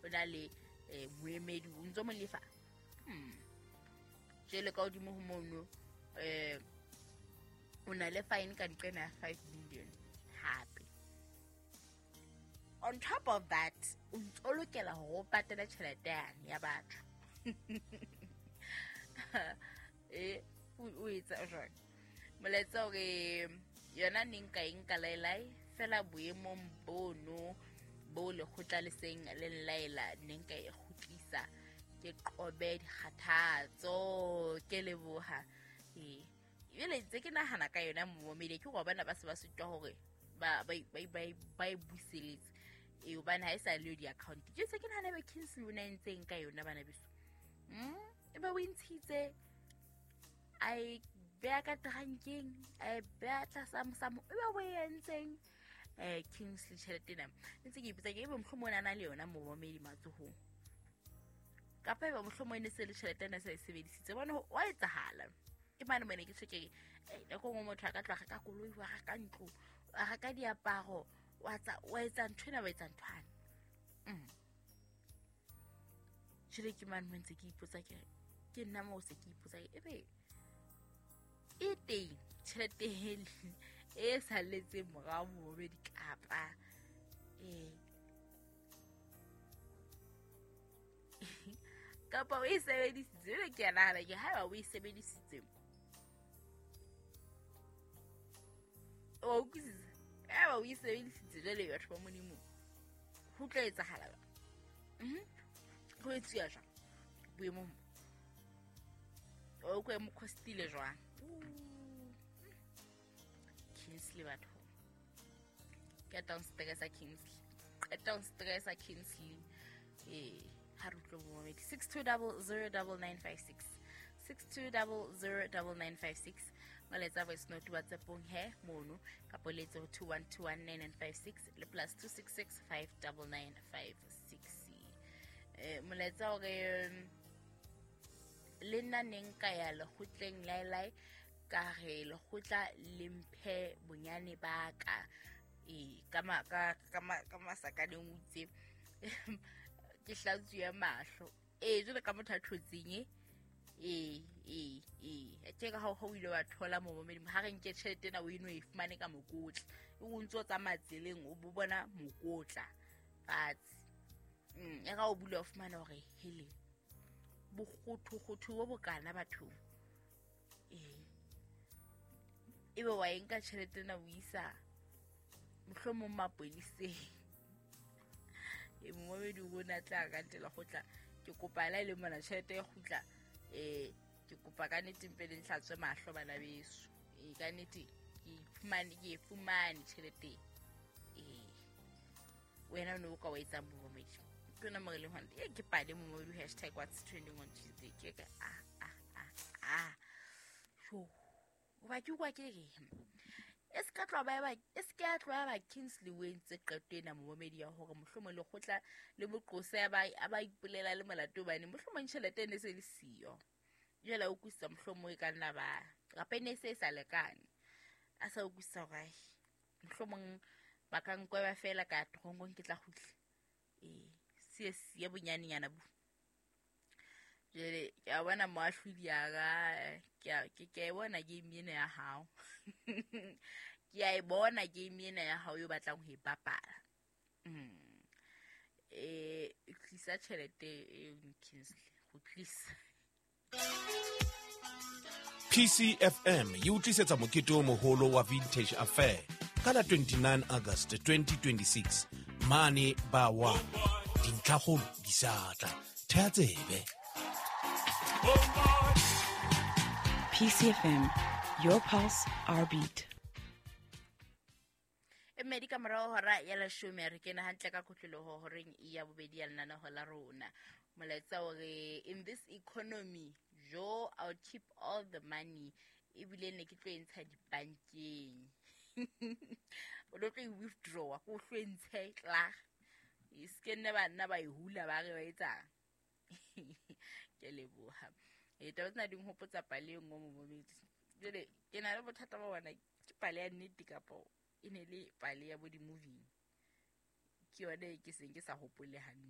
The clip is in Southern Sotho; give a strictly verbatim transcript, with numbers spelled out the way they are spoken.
O na le eh, moemedi o ntso mo lefa. Hmm. Jwale ka hodimo ho mono eh o na le fine ka nqena ya five million hape. On top of that, o ntso lokela hore o patale tjhelete yane ya batho. Eh, o o etsa jwang? Molaetsa hore yona ne nka e nka laelae fela boemong bono bo lekgotla le seng le nlaela, ne nka e kgutlisa ke qobe dikgathatso. Ke leboha. Ee, ebile ntse ke nahana ka yona momedi, ke hore bana ba se ba sitwa hore ba ba ba ba ba e buseletse. Ee, hobane ha e sa le yo di-account. Ke se ke nahana ebe Kingsley o na entseng ka yona bana beso. Mm, ebe o e ntshitse, a e beha ka trankeng, a e beha tlasa mosamo, ebe o e entseng eh Kingsley tjhelete ena. Ntse ke ipotsa ke ebe mohlomong o na na le yona momedi matsohong, kapa ebe mohlomong e ne se le tjhelete ena sa e sebedisitse. Bone wa etsahala. Ke mane mone ke tjho ke re, eh, nako e nngwe motho a ka tloha a reka koloi, wa reka ntlo, wa reka diaparo, wa tsa wa etsa ntho ena, wa etsa nthwane. Mm. Jwale ke mane mo ntse ke ipotsa ke re, ke nna moo se ke ipotsa ke ebe e teng tjhelete e salletseng morao momedi kapa eh kapa o e sebedisitse. Jwale ke a nahana ke haeba o e sebedisitse, wa utlwisisa? Haeba o e sebedisitse jwale batho ba Modimo, ho tla etsahala jwang? Mhm. Ho etsuwa jwang boemong bo? O utlwe mo costile jwang? Kingsley batho. Qeta ho stressa Kingsley. Qeta ho stressa Kingsley. Eh, ha re utlwe momedi. six two double zero double nine five six. six two double zero double nine five six. Molaetsa voice note WhatsApp-ong he mono, kapa o letse ho two one two one nine nine five six le plus two six six five double nine five six. Eh, molaetsa hore le nna ne nka ya lekgotleng laelae ka re lekgotla le mphe bonyane ba ka. Eh, ka ma-, ka, ka ma-, ka masakaneng o itse, ke hlatsuwe mahlo. Eh, jwale ka motho a thotseng, eh? Eh, eh, eh. Tje ka ha o ile wa thola momedi, ha re nke tjhelete ena o e no e fumane ka mokotla. E o ntso tsamaya tseleng, o bo bona mokotla fatshe. Mm, e ga o bula o fumana hore hele, bokgothokgotho bo bokana bathong. Eh. Ebe wa e nka tjhelete ena o isa mohlomong maponeseng. E momedi o bona tla ka ntle lekgotla, ke kopa la ile mona tjhelete e kgutla. Eh, ke kopa ka nnete mpe le ntlhatswe mahlo bana beso. Eh, ka nnete ke fumane, ke e fumane tjhelete. Eh, wena o ne o ka wa etsang momedi? Ke yona mo re leng hona. Eh, ke pale momedi, hashtag what's trending on Tuesday. Ke ka, ah, ah, ah, ah. Sho. Hoba ke utlwa ke re, e se ka tloha ba eba, e se ka tloha ba Kingsley o entse qeto ena momedi ya hore mohlomong lekgotla le moqose a ba, a ba ipolela le molato hobane mohlomong tjhelete e ne se le siyo. Jwale a utlwisisa mohlomong e ka nna ba, kapa e ne se e sa lekane. A sa utlwisisa hore, ai, mohlomong ba ka nkweba feela ka toronkong ke tla kgutla. Eh, se siye bonyanenyana bo. Jwale ke a bona moahlodi ya ka, ke a, ke, ke a e bona game ena ya hao. Ke a e bona game ena ya hao eo batlang ho e bapala. Mm. Eh, tlisa tjhelete e Kingsley, go tlisa. P C F M e o tlisetsa mokete o moholo wa Vintage Affair ka la twenty-nine August twenty twenty-six mane ba wa dintlhakgolo di sa tla. Theha tsebe. P C F M, your pulse, our beat. E mmedi ka morao hora ya leshome, re kena hantle ka kotloloho horeng ya bobedi ya lenaneho la rona. Molaetsa o re, in this economy, jo, I'll keep all the money. Ebile ne ke tlo e ntsha dibankeng. O tlo e withdraw, ko tlo e ntshe tla. E se ke nne ba nna ba e hula ba re ba etsang. Ke leboha. E taba tsena di nhopotsa pale e nngwe mo momedi. Jwale ke na le bothata ba bona, ke pale ya nnete kapa e ne le pale ya bo di-movie. Ke yone e ke seng ke sa hopole hantle.